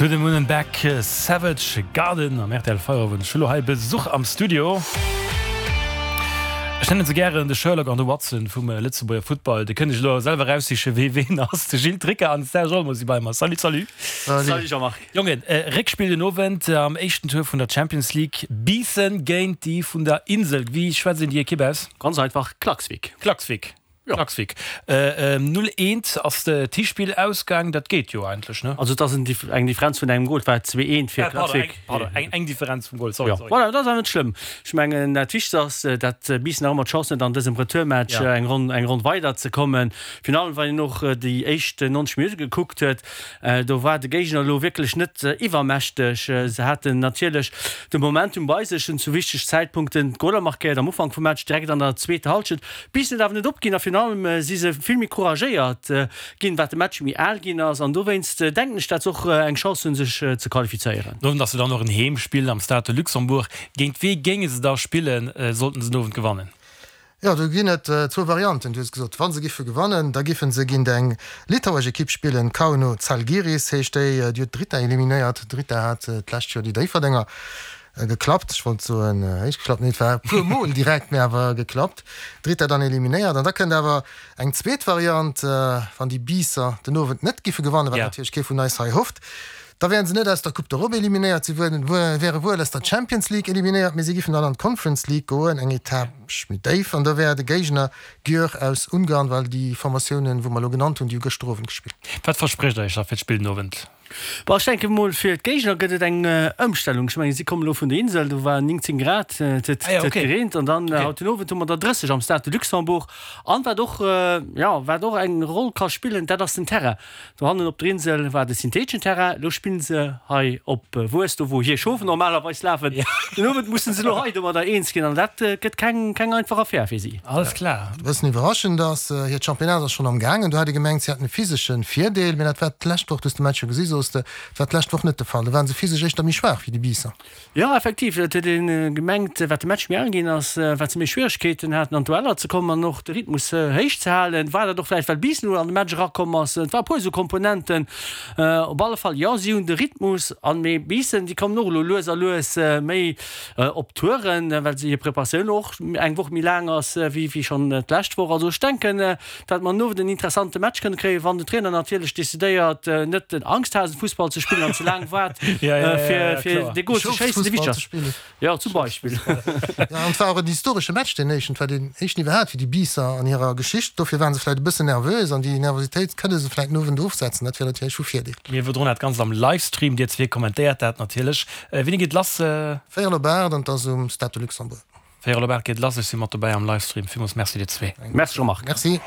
To the Moon and Back, Savage Garden am rtl Feierowend. Ech hu lo hei Besuch am Studio. Ech nennen se gären de Sherlock an de Watson vum Lëtzebuerger Futtball. Dir kënnt iech elo selwer eraussichen, wee ween ass. De Gilles Tricker an de Serge Olmo si bei mer. Salut, salut. Salut Jean-Marc. Jongen, Réckspill den Owend am éischten Tour vun der Champions League. Biissen géint déi vun der Insel. Wéi schwätzt een déi Ekipp aus? Ganz einfach, Klaksvik. Klaksvik. Klaksvik. 0, 1 ass d'Hispill ausgaang, dat geet jo eigentlech, ne? Also et ass eng Differenz vun engem Gol, et war 2, 1 fir Klaksvik. Pardon, eng Differenz vum Gol, sorry, sorry. Voilà, dat ass awer net schlëmm. Ech mengen, dat Wichtegst ass, dat Biissen nach ëmmer d'Chance huet, an dësem Retourmatch eng Ronn, eng Ronn weider ze kommen. Virun allem, wann een och déi éischt 90 Minutte gekuckt huet, do war de Géigner elo wierklech net iwwermächteg. Se haten natierlech de Momentum bei sech, hunn zu wichteg Zäitpunkten d'Goler markéiert, am Ufank vum Match, direkt an der zweeter Hallschent. Bis net awer net opginn a virun allem si se vill méi couragéiert ginn, wat de Match méi al ginn ass an dowéinst denken ech, dat se och eng Chance hunn, sech ze qualifizéieren. Den Owend ass jo dann och en Heemspill am Stade de Luxembourg. Géint wee géinge se da spillen, sollten se den Owend gewannen? Jo, do ginn et zwou Varianten. Du hues gesot, wa se giffe gewannen, da giffen se géint eng litauesch Ekipp spillen, Kauno Zalgiris heescht déi. Déi huet d'Drita eliminéiert. D'Drita hat d'lescht Joer déi Déifferdenger Geklappt, ech wollt soen héich geklappt, nee et war e puer mol direkt, mee awer geklappt. Drita dann eliminéiert an da kënnt awer eng zweet Variant, wann déi Biisser den Owend net giffe gewannen, wat natierlech kee vun eis hei hofft, da wären se net aus der Coupe d'Europe eliminéiert, si wäre wuel aus der Champions League eliminéiert, mee si giffen dann an d'Conference League goen, eng Etapp méi déif, an da wär de Géigner Győr aus Ungarn, well déi Formatiounen, wou mer elo genannt hunn, déi hu gëschter Owend gespillt. Wat versprécht der iech da fir d'Spill den Owend? Bon, ech denke mol, fir d'Géigner gëtt et eng Ëmstellung. Ech mengen, si kommen elo vun der Insel, do waren 19 Grad, et huet ah, ja, okay. gereent an dann okay. haut den Owend hu mer der 30 am Stade de Luxembourg. An wat och, ja, wat och eng Roll ka spillen, dat ass den Terrain. Dohannen op der Insel war de syntheeteschen Terrain, elo spillen se hei op Wues, do wou hir Schof normalerweis lafen. Ja. Den Owend mussen se elo hei domadder eens ginn an dat gëtt keng, keng einfach Affär fir si. Alles klar. E bëssen iwwerraschend ass, hiert Championnat ass schonn am gaangen. Do hat ee gemengt, si hätten e physesche Virdeel, mee dat war d'lescht Woch, du hues de Match jo gesi soos de, dat war d'lescht Woch net de Fall. Do waren se physesch éischter méi schwaach wéi déi Biisser. Jo, effektiv, et huet ee gemengt, wat de Match méi al ginn ass, wat se méi Schwieregkeeten haten an d'Dueller ze kommen an och de Rhythmus héich ze halen. War dat och vläicht, well Biissen elo an de Match erakomm ass? Et war e puer esou Komponenten. Op alle Fall, jo, si hunn de Rhythmus an, mee Biissen, déi kommen och elo lues a lues méi op Touren, well se hir Preparatioun och eng Woch méi laang ass wéi schonn d'lescht Woch. Also ech denken, datt mer den Owend en interessante Match kënne kréien, wann den Trainer natierlech decidéiert, net den Angsthasenfussball ze spillen an ze laang waart, fir dee Gol ze schéissen, dee wichteg ass. Jo, zum Beispill. Jo, an et war och en historesche Match, deen éischten. Et war deen éischten iwwerhaapt fir déi Biisser an hirer Geschicht. Dofir ware se vläicht e bëssen nervös an déi Nervositéit kënne se vläicht den Owend ofsetzen. Dat wier natierlech vu Virdeel. Mir iwwerdroen dat Ganzt am Livestream. Dir zwee kommentéiert dat natierlech. Wéini geet lass? Véierel op 8 an 't ass um Stade de Luxembourg. Véierel op 8 geet lass. Ech si mat dobäi am Livestream. Villmools Merci dir zwee. Merci Jean-Marc. Merci.